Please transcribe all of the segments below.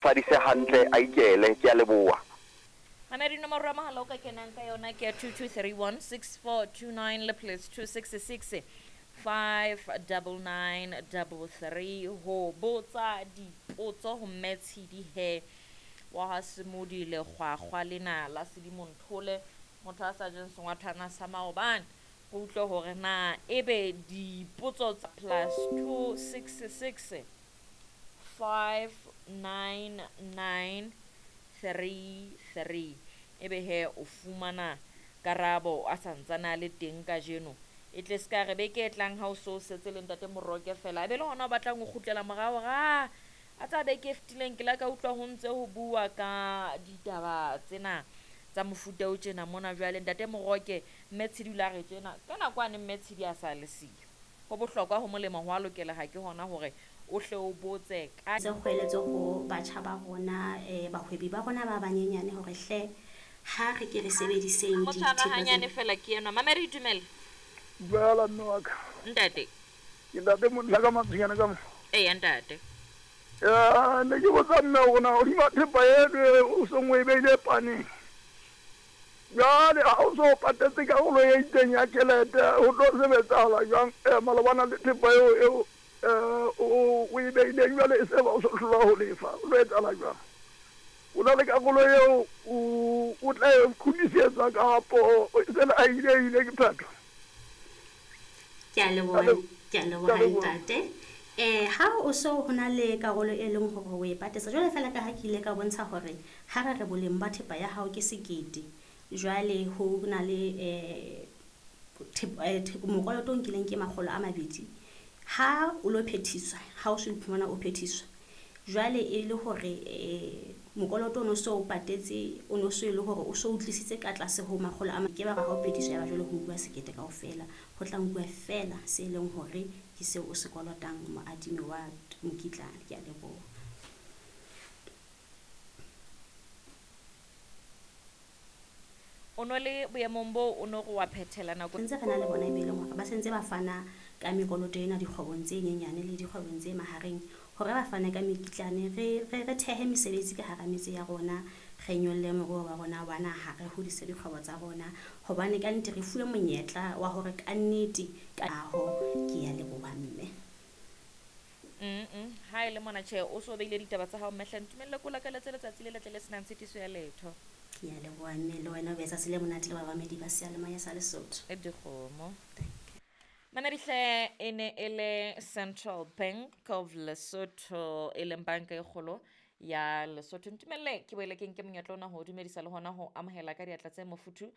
Fadise hantle a ikele. Ke a leboha. Mamedi, nomoro ya mohala o ka kenang ka yona ke ya 22316429 le plus 266 59933 ho botsa dipotso ho Mme Tshidi he wa ha Semodi lekgwakgwa lena la Sedimonthole, motho a sa jeng sengwathwana sa maobane. Re utlwe hore na ebe dipotso tsa plus 266 59933 ebe he o fumana karabo a sa ntsane a le teng kajeno. E tle se ka re beke e tlang ha o so setse le ntate Moroke fela, ebe le hona o batlang ho kgutlela morao ra a tsa beke e fetileng, ke la ka utlwa ho ntse ho bua ka ditaba tsena tsa mofuta o tjena mona. Jwale ntate Moroke, Mme Tshidi o la re tjena ka nako ane Mme Tshidi a sa le siyo. Ho bohlokwa, ho molemo, ho a lokeleha ke hona hore o hle o botse ka. Tse kgoeletso ho batjha ba rona, bahwebi ba rona ba banyenyane hore hle ha re ke re sebediseng Mo tshwara hanyane fela ke enwa. Mamedi, dumela. Dumela mme wa ka. Ntate. Ke ntate Montlha ka Matswinyane ka mo. Eya ntate. Ya ne ke botsa mme hore na hodima thepa eno e o seng o e beile paneng. Jwale ha o so patetse karolo e itseng ya tjhelete ho tlo sebetsahala jwang malebana le thepa eo eo o e beileng jwale e se ba o so hlolwa ho lefa, ho tlo etsahala jwang? O na le karolo eo o tla e khutlisetsa kapo e se le a ile ile ke phetho? Ke a leboha, ke a leboha ntate. Ha o so ho na le karolo e leng hore o e patetse jwale fela ka ha ke ile ka bontsha hore ha re re boleng ba thepa ya hao ke sekete, jwale ho na le mokoloto o nkileng ke 200. Ha o lo phethiswa, ha o so iphumana o phethiswa, jwale e le hore mokoloto o no so o patetse, o no so e le hore o so o tlisitse ka tlase ho makgolo a ke ba re ha o phethiswa ya ba jwale ho nkuwa sekete kaofela, ho tla nkuwa fela se leng hore ke seo o se kolotang moadimi wa mokitlane. Ke a leboha. O no le boemong boo o no re wa phethela nako. Ntse re na le bona e be leng hore ba sentse ba fana ka mekoloto ena dikgwebong tse nyenyane le dikgwebong tse mahareng, hore ba fane ka mekitlane, re thehe mesebetsi ka hara metse ya rona, re nyolle moruo wa rona wa naha, re hodise dikgwebo tsa rona, hobane ka nnete re fuwe monyetla wa hore ka nnete ka aho. Ke ya leboha mme. Ha e le mona tjhe, o so beile ditaba tsa hao mme hle, ntumelle ko lakaletse letsatsi le letle le senang tshitiso ya letho. Ke ya leboha mme, le wena o be tsatsi le monate le bamamedi ba seyalemoya sa Lesotho. E dikgomo. Mamedi hle, e ne e le Central Bank of Lesotho, e leng banka e kgolo ya Lesotho. Ntumelle ke boele ke nke monyetla ona ho dumedisa le hona ho amohela ka diatla tse mofuthu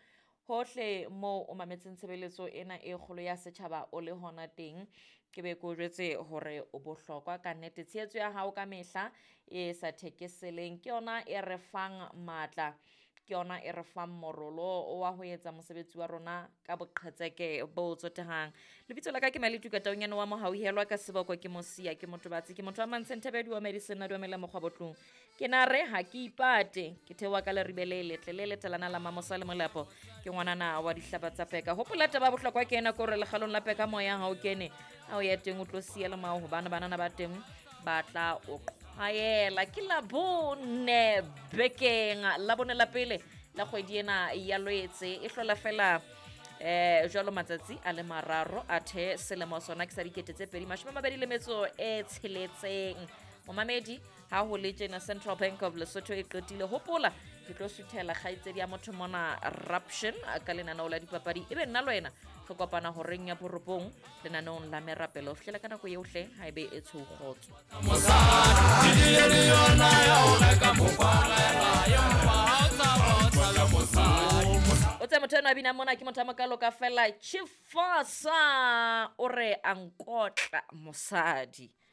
hohle moo o mametseng tshebeletso ena e kgolo ya setjhaba o le hona teng. Ke be ke o jwetse hore o bohlokwa ka nnete. Tshehetso ya hao ka mehla e sa thekeseleng ke yona e re fang matla, ke yona e re fang morolo wa ho etsa mosebetsi wa rona ka boqhetseke bo tsotehang. Lebitso la ka ke Maletuka Taunyane wa Mohauhelwa ka seboko ke Mosia, ke Motobatsi, ke motho wa Mantsheng Thebe di wa Medicine, di wa Mela Mokgwa Botlong. Ke na re ha ke ipate, ke theoha ka leribe le letle le letelana la Mamosa le Molapo, ke ngwanana wa dihlaba tsa peka. Hopola taba bohlokwa ke ena, kore lekgalong la peka moya ha o kene, ha o ya teng o tlo siela mao hobane banana ba teng ba tla o qhwaela. Ke Labone bekeng, Labone la pele la kgwedi ena ya Lwetse, e hlola fela jwalo matsatsi a le mararo athe selemo sona ke sa 2026. Momamedi, ha ho le tjena Central Bank of Lesotho e qetile. Hopola ke tlo suthela kgaitsedi ya motho mona Raption ka lenaneo la dipapadi, ebe nna le wena re kopana horeng ya borobong lenaneong la merapelo. Ho fihlela ka nako eohle, ha ebe e tshou kgotso. O tse motho enwa a binang mona ke motho a mokalo ka fela, Chief Fasa o re a nkotla mosadi.